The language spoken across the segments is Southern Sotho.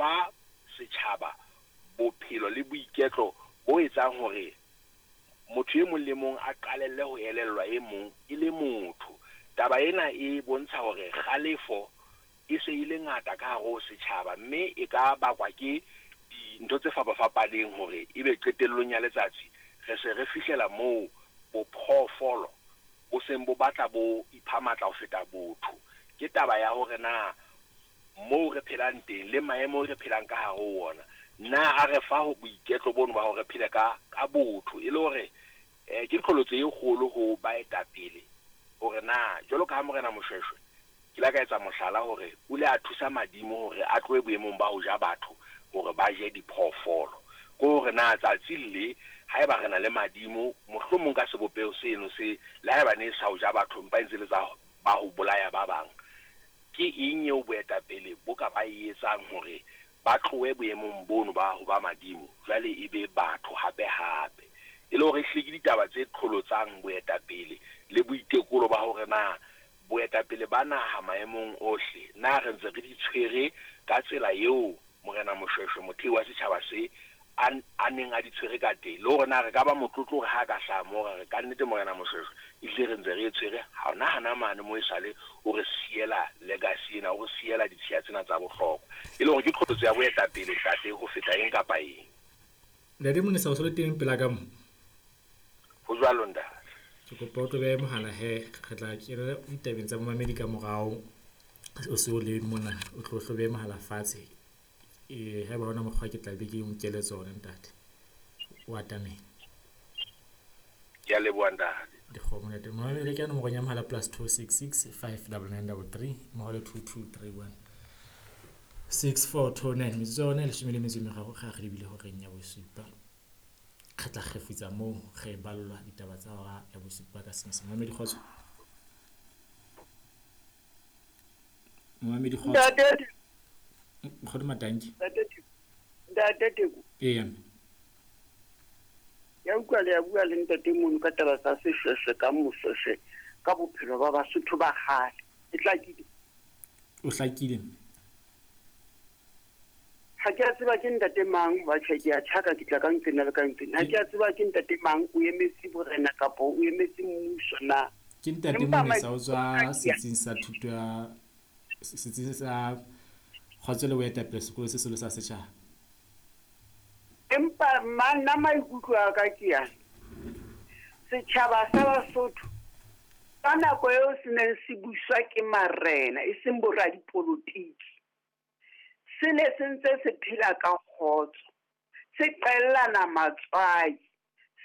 fa setjhaba bophelo le boiketlo bo etsang hore motho e mong le mong a qalelle ho elellwa e mong e le motho. Taba ena e bontsha hore kgalefo e se e le ngata ka hare ho setjhaba, mme e ka bakwa ke dintho tse fapafapaneng hore ebe qetellong ya letsatsi re se re fihlela moo bophoofolo bo seng bo batla bo ipha matla ho feta botho. Ke taba ya hore na moo re phelang teng le maemo re phelang ka hare ho ona, na a re fa ho boiketlo bono ba hore re phele ka botho, e le hore ke qholotso e kgolo ho baetapele hore na jwalo ka ha Morena Moshoeshoe ke la ka etsa mohlala hore o ile a thusa madimo hore a tlohe boemong ba ho ja batho hore ba je diphoofolo. Ke hore na tsatsi le haeba re na le madimo mohlomong ka sebopeho seno se le haeba ne sa ho ja batho empa e ntse le tsa ba ho bolaya ba bang, ke eng eo boetapele bo ka ba e etsang hore ba tlohe boemong bono ba ho ba madimo jwale e be batho hape hape? E le hore ehlile ke ditaba tse qholotsang boetapele le boitekolo ba hore na boetapele ba naha maemong ohle na re ntse re di tshwere ka tsela eo Morena Moshoeshoe mothei wa setjhaba se a neng a di tshwere ka teng, le hore na re ka ba motlotlo hore ha ka hlaha moo ra re ka nnete Morena Moshoeshoe ehlile re ntse re e tshwere hona hana mane mo esale o re siela legacy ena, o re siela ditshiya tsena tsa bohlokwa. E le hore ke qholotso ya boetapele ntate ho feta eng kapa eng. Ntate Monesa, o se le teng pela ka mo? Ho jwalo ntate. Ke kopa o tlo behe mohala he, re tla kena ditabeng tsa momamedi ka morao. O se o le mona, o tlo hlo behe mohala fatshe. Haeba hona mokgwa ke tla be ke o nkele tsona ntate. O atamele. Ke a leboha ntate. Dikgomo ntate. Momamedi ke nomoro ya mohala +266 59933 mmoho le 2231 6429. Metsotso ya rona e 13 ga re lebile horeng ya bosupa. Re tla kgefutsa moo re ballwa ditaba tsa hora ya bosupa ka senyesemane. Momamedi kgotso. Momamedi kgotso. Ntate. Nkgono Matanki. Ntate Teko. Eya. Ya utlwa le ya bua le ntate mono ka taba tsa seshweshwe ka Moshoeshoe ka bophelo ba Basotho ba kgale. E hlakile. O hlakile. Ha ke a tseba ke ntate mang, ba tjhe ke a tjhaka ke tla ka nqena le ka nqena. Ha ke a tseba ke ntate mang, o emetse borena kapa o emetse mmuso na? Ke ntate Monesa o tswa setsing sa thuto ya setsing sa kgotso le boetapele sekolo se seholo sa setjhaba. Empa nna maikutlo a ka ke yana. Setjhaba sa Basotho ka nako eo se neng se buswa ke marena e seng boradipolotiki, se ne se ntse se phela ka kgotso, se qellana matswai,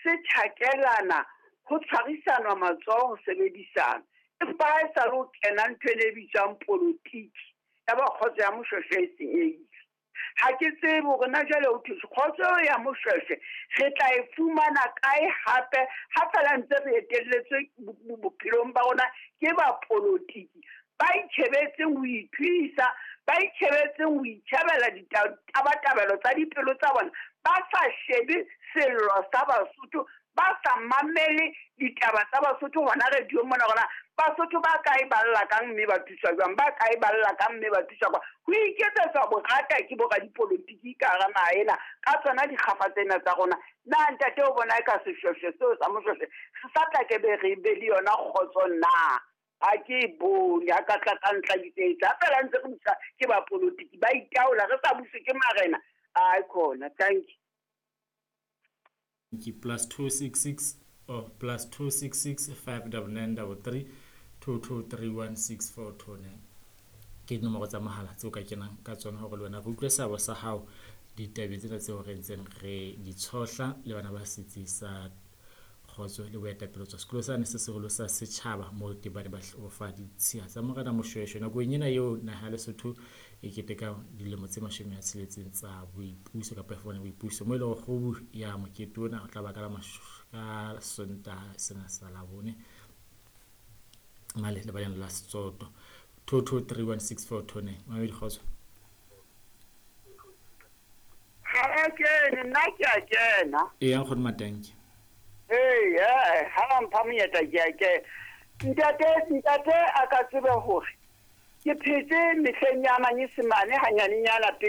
se tjhakelana, ho tshwarisanwa matsoho, ho sebedisana. Empa ha e sa le ho kena ntho e bitswang politiki, ya ba kgotso ya Moshoeshoe e senyehile. Ha ke tsebe hore na jwale ho thwe kgotso ya Moshoeshoe re tla e fumana kae hape, ha feela ntse re etelletswe bophelong ba rona ke bapolotiki ba itjhebetseng ho ithuisa, ba itjhebetseng ho itjhebela ditabatabelo tsa dipelo tsa bona, ba sa shebe sello sa Basotho, ba sa mamele ditaba tsa Basotho hona radio mona hore Basotho ba kae ba lla kang mme ba thuswa jwang, ba kae ba lla kang mme ba thuswa jwang. Ho iketsetswa borata ke boradipolotiki ka hara naha ena ka tsona dikgafa tsena tsa rona. Na ntate o bona e ka seshweshwe seo sa Moshoeshoe se sa tla ke be re be le yona kgotso na? Ha ke e bone, ha ka tla ka ntlhakisetsa. Ha feela ntse re busa ke bapolotiki ba itaola, re sa buswe ke marena. Ai khona, thank you. Ke +266 or +266 59933 2231 6429. Ke dinomoro tsa mohala tseo ka kenang ka tsona hore le wena re utlwe seabo sa hao ditabeng tsena tseo re ntseng re di tshohla le bana ba setsi sa kgotso le boetapele tswa sekolo sane se seholo sa setjhaba moo teng ba ne ba fa ditshiya tsa Morena Moshoeshoe. Nakong ena eo naha ya Lesotho e keteka dilemo tse 60 tsa boipuso kapa e fumane boipuso, moo e leng hore kgobu ya mokete ona o tla ba ka Sontaha sena sa Labone male lebaleng la Setsoto. 22316429. Mamedi kgotso. Ha a kene, nna ke a kena. Eya nkgono Matanki. Ee, ha ba mpha monyetla ke a kena. Ntate a ka tsebe hore ke phetse mehleng ya manyesemane hanyanenyana pele